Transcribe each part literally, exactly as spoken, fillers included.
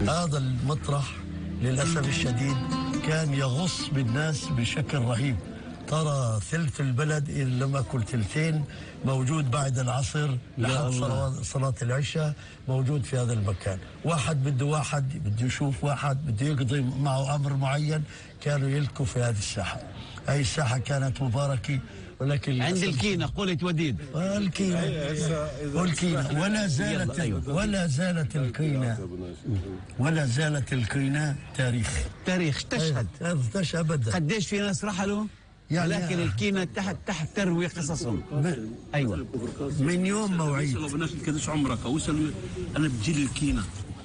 هذا المطرح للأسف الشديد كان يغص بالناس بشكل رهيب. ترى ثلث البلد إن لم أكن ثلثين موجود بعد العصر لحد صلاة العشاء موجود في هذا المكان. واحد بده واحد بده يشوف واحد بده يقضي معه أمر معين كانوا يلكوا في هذه الساحة. هذه الساحة كانت مباركة ولكن عند الكينة قلت وديد الكينة والكينة ولا زالت ولا زالت الكينة ولا زالت الكينة تاريخ تاريخ تشهد تشهد أبدا. قديش في ناس رحلوا يعني لكن الكينة تحت تحت تروي قصصهم. ايوه من يوم موعد الناس كدش عمرك وصلوا انا بجيل الكينة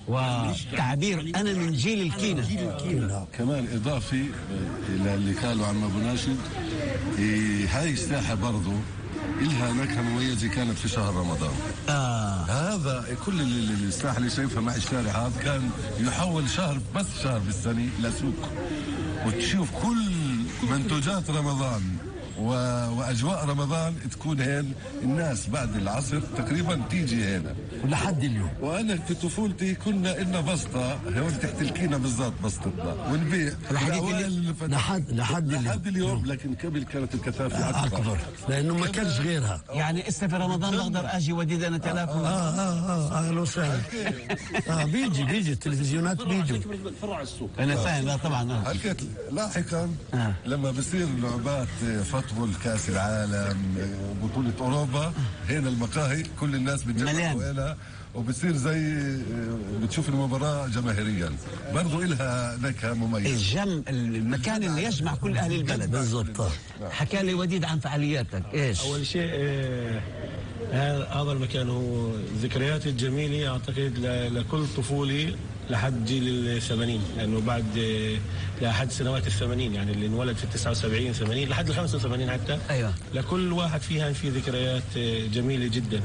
وتعبير انا من جيل الكينة. جيل الكينة كمان اضافي الى اللي قالوا عم ابو ناشد. إيه هاي الساحة برضو إلها نكهة مميزة كانت في شهر رمضان. آه. هذا كل اللي الساحة اللي شايفها مع الشارع هذا كان يحول شهر بس شهر بالسنة لسوق وتشوف كل منتوجات رمضان و... وأجواء رمضان تكون هين. الناس بعد العصر تقريبا تيجي هنا ولحد اليوم. وأنا في طفولتي كنا إلنا بسطة هون تحت الكينة بالضبط بسطتنا ونبيع لحد لحد لحد لحد اليوم. لكن قبل كانت الكثافة أكبر, أكبر لأنه ما كانش غيرها. يعني إسا في رمضان بقدر أجي وديد أنا تلاكم. آه آه آه أهلا وسهلا. آه بيجي بيجي التلفزيونات بيجوا فرع السوق. أنا فاهم. لا طبعا. حكيت لاحقا آه. لما بصير لعبات فوتبول كاس العالم بطولة أوروبا هنا المقاهي كل الناس بتجمعوا هنا وبصير زي بتشوف المباراة جماهيريا برضو إلها نكهة مميزة. الجم المكان اللي يجمع كل أهل البلد بالضبط. حكى لي وديد عن فعالياتك إيش؟ أول شيء آه هذا المكان هو ذكرياتي الجميلة أعتقد لكل طفولي لحد جيل الثمانين لأنه بعد لحد سنوات الثمانين يعني اللي انولد في التسعة وسبعين ثمانين لحد الخمسة وثمانين حتى. أيوة. لكل واحد فيها في ذكريات جميلة جدا.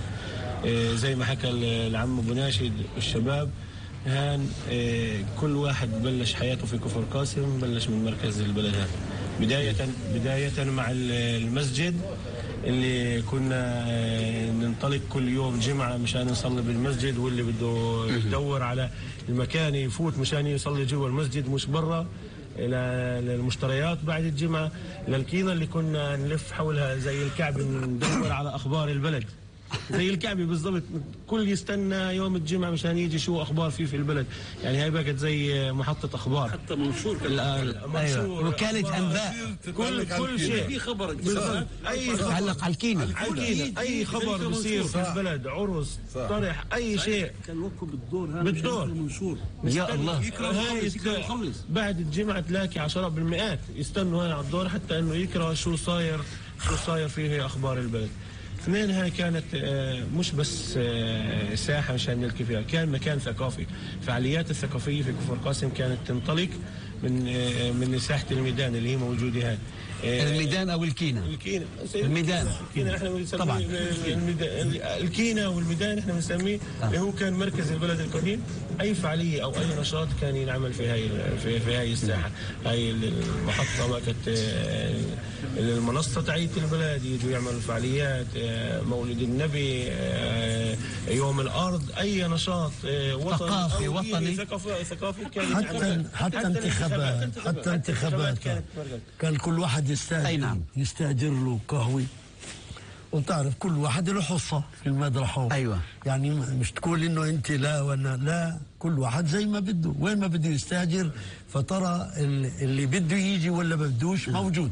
زي ما حكى العم ابو ناشد الشباب هان كل واحد بلش حياته في كفر قاسم بلش من مركز البلد هان بداية بداية مع المسجد اللي كنا ننطلق كل يوم جمعة مشان نصلي بالمسجد واللي بده يدور على المكان يفوت مشان يصلي جوا المسجد مش برا إلى المشتريات بعد الجمعة للكينة اللي كنا نلف حولها زي الكعب ندور على أخبار البلد زي الكعبة بالضبط. كل يستنى يوم الجمعة مشان يجي شو أخبار فيه في البلد. يعني هاي بقت زي محطة أخبار حتى منشور أيوة. وكالة أنباء كل كل شيء في خبر أي تعلق على الكينة. أي خبر بصير في البلد عرس طرح أي شيء كان وقفوا بالدور هذا بالدور المنشور يا الله. يكره بعد الجمعة تلاقي عشرات بالمئات يستنوا هاي على الدور حتى إنه يكره شو صاير شو صاير فيه أخبار البلد. اثنين هاي كانت مش بس ساحة مشان نلقي فيها كان مكان ثقافي. فعاليات الثقافية في كفر قاسم كانت تنطلق من من ساحة الميدان اللي هي موجودة هاي. الميدان أو الكينة. الكينة. الميدان. الكينة احنا بنسميه طبعا. الكينة والميدان احنا بنسميه اللي هو كان مركز البلد القديم. أي فعالية أو أي نشاط كان ينعمل في هاي في, في هاي الساحة. هاي المحطة ما كانت المنصة تعيد البلد يجوا يعملوا فعاليات مولد النبي يوم الأرض أي نشاط ثقافي وطني ثقافي ثقافي كان حتى حتى انتخابات حتى انتخابات كان كل واحد يستأجر نعم. يستأجر له قهوة وتعرف كل واحد له حصة في المدرحة. أيوة. يعني مش تقول إنه أنت لا وأنا لا كل واحد زي ما بده وين ما بده يستأجر فترى اللي بده يجي ولا ما بدوش موجود.